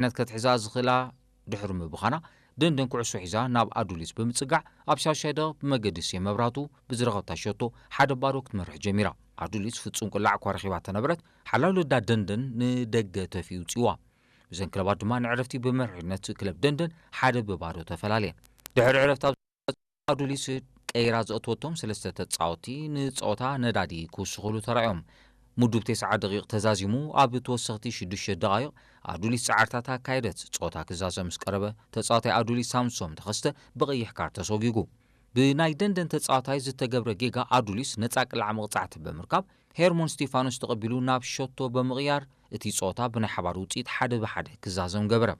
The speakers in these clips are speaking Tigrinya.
መሪሕነት ከትሕዛ ዝኽእላ ድሕሪ ምብኻና፣ ደንደን ኩዕሶ ሒዛ ናብ ኣዱሊስ ብምጽጋዕ፣ ኣብ ሻዱሻይ ደቂቕ ብመገዲ ሴ መብራቱ ብዝረኸብታ ሸቶ ሓደ ባዶ ክትመርሕ ጀሚራ። ኣዱሊስ ፍጹም ቅላዕ እኳ ረኺባ ተነበረት፣ ሓላው ልዳ ደንደን ንደገ ተፊኡ ውጽእዋ። እዘን ክለባት ድማ ንዕረፍቲ ብመሪሕነት ክለብ ደንደን ሓደ ብባዶ ተፈላለየን። ድሕሪ ዕረፍቲ ኣብ ኣዱሊስ ቀይራ ዘእተወቶም ሰለስተ ተጻወትቲ ንጸወታ ነዳዲ ክውስኹሉ ተራእዮም። ምዱብ ተስዓ ደቂቕ ተዛዚሙ፣ ኣብ ተወሰኽቲ ሽዱሽተ ደቓይቕ ኣዱሊስ ጻዕርታት ኣካየደት። ጸወታ ክዛዘም ምስ ቀረበ፣ ተጻዋታይ ኣዱሊስ ሳምሶም ተኸስተ ብቐይሕ ካርድ ተሰጒጉ። ብናይ ደንደን ተጻዋታይ ዝተገብረ ጌጋ ኣዱሊስ ነጻ ቅላዕ መቕጻዕቲ ብምርካብ፣ ሄርሞን ስቲፋኖስ ተቐቢሉ ናብ ሸቶ ብምቕያር፣ እቲ ጸወታ ብናይ ሓባር ውጽኢት ሓደ ብሓደ ክዛዘም ገበረ።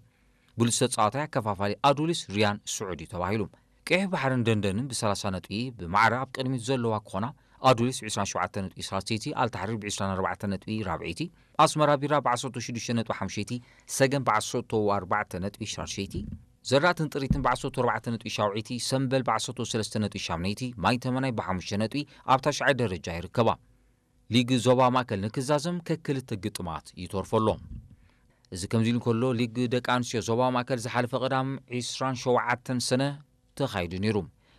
ብሉጽ ተጻዋታይ ኣከፋፋሊ ኣዱሊስ ሪያን ስዑድ እዩ ተባሂሉ። ቀይሕ ባሕርን ደንደንን ብ ሰላሳ ነጥቢ ብማዕረ ኣብ ቅድሚት ዘለዋ ክኾና፣ ኣዱሊስ ብ ዕስራን ሸውዓተን ነጥቢ ሳልሰይቲ፣ ኣልታሕሪር ብ ዕስራን ኣርባዕተን ነጥቢ ራብዐይቲ፣ ኣስመራ ቢራ ብ ዓሰርተ ሽዱሽተ ነጥቢ ሓሙሽይቲ፣ ሰገን ብ ዓሰርተ ኣርባዕተ ነጥቢ ሻድሸይቲ፣ ዘራእትን ጥሪትን ብ ዓሰርተ ኣርባዕተ ነጥቢ ሻውዐይቲ፣ ሰምበል ብ ዓሰርተ ሰለስተ ነጥቢ ሻምነይቲ፣ ማይ ተመናይ ብ ሓሙሽተ ነጥቢ ኣብ ታሽዓይ ደረጃ ይርከባ። ሊግ ዞባ ማእከል ንክዛዘም ከክልተ ግጥማት ይተርፎ ኣሎ። እዚ ከምዚ ኢሉ እንከሎ፣ ሊግ ደቂ ኣንስትዮ ዞባ ማእከል ዝሓለፈ ቀዳም ዕስራን ሸውዓተን ሰነ ተኻይዱ ነይሩ።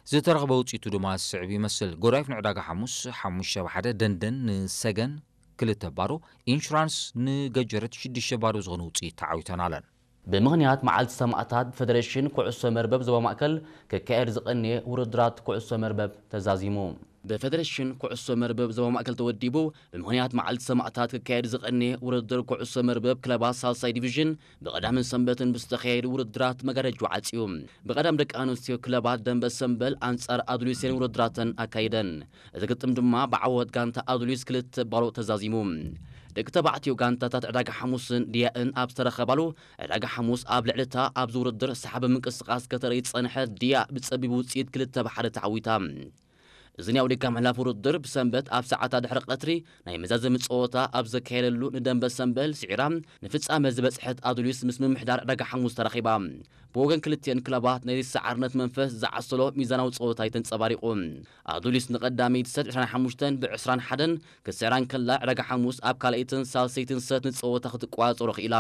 ዝተረኽበ ውጽኢቱ ድማ ዝስዕብ ይመስል። ጎዳይፍ ንዕዳጋ ሓሙስ ሓሙሽተ ብ ሓደ፣ ደንደን ንሰገን ክልተ ባዶ፣ ኢንሹራንስ ንገጀረት ሽዱሽተ ባዶ ዝኾነ ውጽኢት ተዓዊተን ኣለን። ብምኽንያት መዓልቲ ሰማእታት ብፌደሬሽን ኩዕሶ መርበብ ዞባ ማእከል ክካየድ ዝቐነየ ውድድራት ኩዕሶ መርበብ ተዛዚሙ። ብፌደሬሽን ኩዕሶ መርበብ ዞባ ማእከል ተወዲቡ፣ ብምኽንያት መዓልቲ ሰማእታት ክካየድ ዝቐነየ ውድድር ኩዕሶ መርበብ ክለባት ሳልሳይ ዲቪዥን ብቐዳምን ሰንበትን ብዝተኻየዱ ውድድራት መጋረጃ ዓጽዩ። ብቐዳም ደቂ ኣንስትዮ ክለባት ደንበ ሰንበል ኣንጻር ኣዱሊስን ውድድራተን ኣካይደን። እቲ ግጥም ድማ ብዓወት ጋንታ ኣዱሊስ ክልተ ባዶ ተዛዚሙ። ደቂ ተባዕትዮ ጋንታታት ዕዳጋ ሓሙስን ድያእን ኣብ ዝተረኸባሉ፣ ዕዳጋ ሓሙስ ኣብ ልዕሊ እታ ኣብዚ ውድድር ሰሓቢ ምንቅስቓስ ከተርኢ ዝጸንሐት ድያ ብጸቢብ ውጽኢት ክልተ ብ ሓደ ተዓዊታ። እዚ ናይ ኣውዲካ ምሕላፍ ውድድር ብሰንበት ኣብ ሰዓታት ድሕሪ ቀትሪ ናይ መዛዘሚ ጸወታ ኣብ ዘካየደሉ፣ ንደንበ ሰንበል ስዒራ ንፍጻመ ዝበጽሐት ኣዱሊስ ምስ ምምሕዳር ዕዳጋ ሓሙስ ተራኺባ። ብወገን ክልቲኤን ክለባት ነዚ ሰዓርነት መንፈስ ዝዓሰሎ ሚዛናዊ ጸወታ እዩ ተንጸባሪቑ። ኣዱሊስ ንቐዳመይቲ ሰት ዕስራን ሓሙሽተን ብ ዕስራን ሓደን ክትስዕራ እንከላ፣ ዕዳጋ ሓሙስ ኣብ ካልኣይትን ሳልሰይትን ሰት ንጸወታ ክትቆጻጸሮ ክኢላ።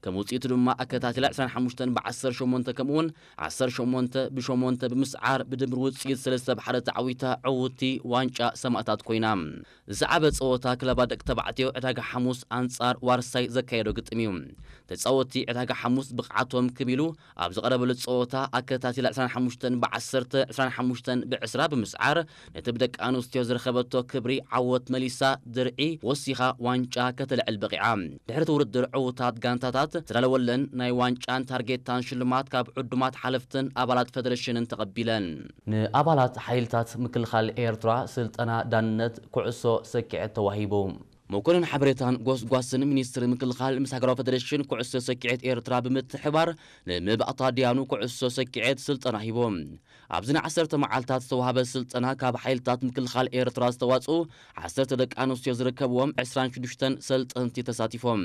ከም ውጽኢቱ ድማ ኣከታቲላ ዕስራን ሓሙሽተን ብ ዓሰርተ ሸሞንተ ከምኡውን ዓሰርተ ሸሞንተ ብ ሸሞንተ ብምስዓር ብድምር ውጽኢት ሰለስተ ብ ሓደ ተዓዊታ ዕውትቲ ዋንጫ ሰማእታት ኮይና። ዝሰዓበ ጸወታ ክለባት ደቂ ተባዕትዮ ዕዳጋ ሓሙስ ኣንጻር ዋርሳይ ዘካየዶ ግጥም እዩ። ተጻወትቲ ዕዳጋ ሓሙስ ብቕዓቶም ክብ ኢሉ ኣብ ዝቐረበሉ ጸወታ ኣከታቲላ ዕስራን ሓሙሽተን ብ ዓሰርተ፣ ዕስራን ሓሙሽተን ብ ዕስራ ብምስዓር ነቲ ብደቂ ኣንስትዮ ዝረኸበቶ ክብሪ ዓወት መሊሳ ድርዒ ወሲኻ ዋንጫ ከተልዕል በቒዓ። ድሕሪ እቲ ውድድር ዕዉታት ጋንታታት ዝተዳለወለን ናይ ዋንጫን ታርጌታን ሽልማት ካብ ዕዱማት ሓለፍትን ኣባላት ፌደሬሽንን ተቐቢለን። ንኣባላት ሓይልታት ምክልኻል ኤርትራ ስልጠና ዳንነት ኩዕሶ ሰኪዐት ተዋሂቡ። መኮንን ሓበሬታን ጎስጓስን ሚኒስትሪ ምክልኻል ምስ ሃገራዊ ፌደሬሽን ኩዕሶ ሰኪዐት ኤርትራ ብምትሕባር ንመባእታ ድያኑ ኩዕሶ ሰኪዐት ስልጠና ሂቦም። ኣብዚ ንዓሰርተ መዓልታት ዝተዋህበ ስልጠና ካብ ሓይልታት ምክልኻል ኤርትራ ዝተዋጽኡ ዓሰርተ ደቂ ኣንስትዮ ዝርከብዎም ዕስራን ሽዱሽተን ሰልጠንቲ ተሳቲፎም።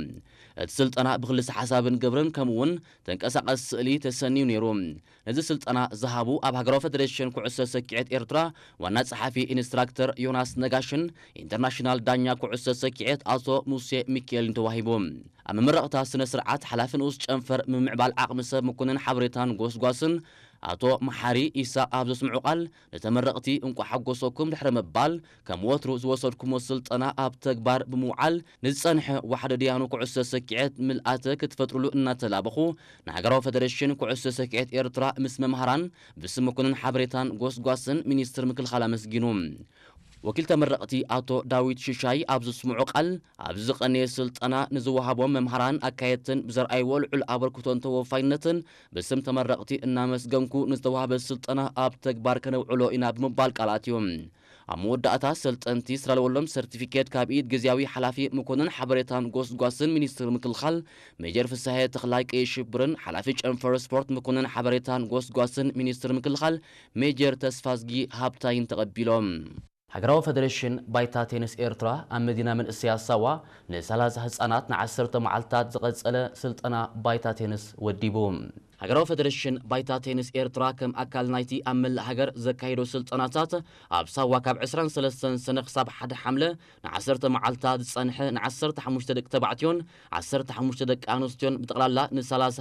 እቲ ስልጠና ብክልሰ ሓሳብን ግብርን ከምኡውን ተንቀሳቐስ ስእሊ ተሰንዩ ነይሩ። ነዚ ስልጠና ዝሃቡ ኣብ ሃገራዊ ፌደሬሽን ኩዕሶ ሰኪዐት ኤርትራ ዋና ጸሓፊ ኢንስትራክተር ዮናስ ነጋሽን ኢንተርናሽናል ዳኛ ኩዕሶ ሰኪዐት ኣቶ ሙሴ ሚካኤልን ተዋሂቡ። ኣብ መመረቕታ ስነ ስርዓት ሓላፊ ንኡስ ጨንፈር ምምዕባል ዓቕሚ ሰብ መኮንን ሓበሬታን ጎስጓስን ኣቶ መሓሪ ኢሳቕ ኣብ ዘስምዑ ቃል፣ ንተመረቕቲ እንቋዕ ሓጎሰኩም ድሕሪ ምባል፣ ከም ወትሩ ዝወሰድኩሞ ስልጠና ኣብ ተግባር ብምውዓል ንዝጸንሐ ዋሕደ ድያኑ ኩዕሶ ሰኪዐት ምልኣተ ክትፈጥሩሉ እናተላበኹ፣ ንሃገራዊ ፌደሬሽን ኩዕሶ ሰኪዐት ኤርትራ ምስ መምሃራን ብስም መኮንን ሓበሬታን ጎስጓስን ሚኒስትር ምክልኻል ኣመስጊኑ። ወኪል ተመረቕቲ ኣቶ ዳዊት ሽሻይ ኣብ ዘስምዖ ቃል፣ ኣብዚ ዝቐነየ ስልጠና ንዝወሃቦም መምሃራን ኣካየድትን ብዘርኣይዎ ልዑል ኣበርክቶን ተወፋይነትን ብስም ተመረቕቲ እናመስገንኩ፣ ንዝተዋህበ ስልጠና ኣብ ተግባር ከነውዕሎ ኢና ብምባል ቃል ኣትዮም። ኣብ መወዳእታ ሰልጠንቲ ዝተዳለወሎም ሰርቲፊኬት ካብ ኢድ ግዝያዊ ሓላፊ መኮንን ሓበሬታን ጎስጓስን ሚኒስትሪ ምክልኻል ሜጀር ፍሳሐ ተኽላይ ቀይሽብርን ሓላፊ ጨንፈር ስፖርት መኮንን ሓበሬታን ጎስጓስን ሚኒስትሪ ምክልኻል ሜጀር ተስፋዝጊ ሃብታይን ተቐቢሎም። ሃገራዊ ፈደሬሽን ባይታ ቴኒስ ኤርትራ ኣብ መዲና መንእሰያት ሳዋ ን30 ህጻናት ን10 መዓልታት ዝቐጸለ ስልጠና ባይታ ቴኒስ ወዲቡ። ሃገራዊ ፈደሬሽን ባይታ ቴኒስ ኤርትራ ከም ኣካል ናይቲ ኣብ መላእ ሃገር ዘካየዶ ስልጠናታት ኣብ ሳዋ ካብ ዕስራን ሰለስተን ሰነ ክሳብ ሓደ ሓምለ ን10 መዓልታት ዝጸንሐ ን15 ደቂ ተባዕትዮን 15 ደቂ ኣንስትዮን ብጠቕላላ ን30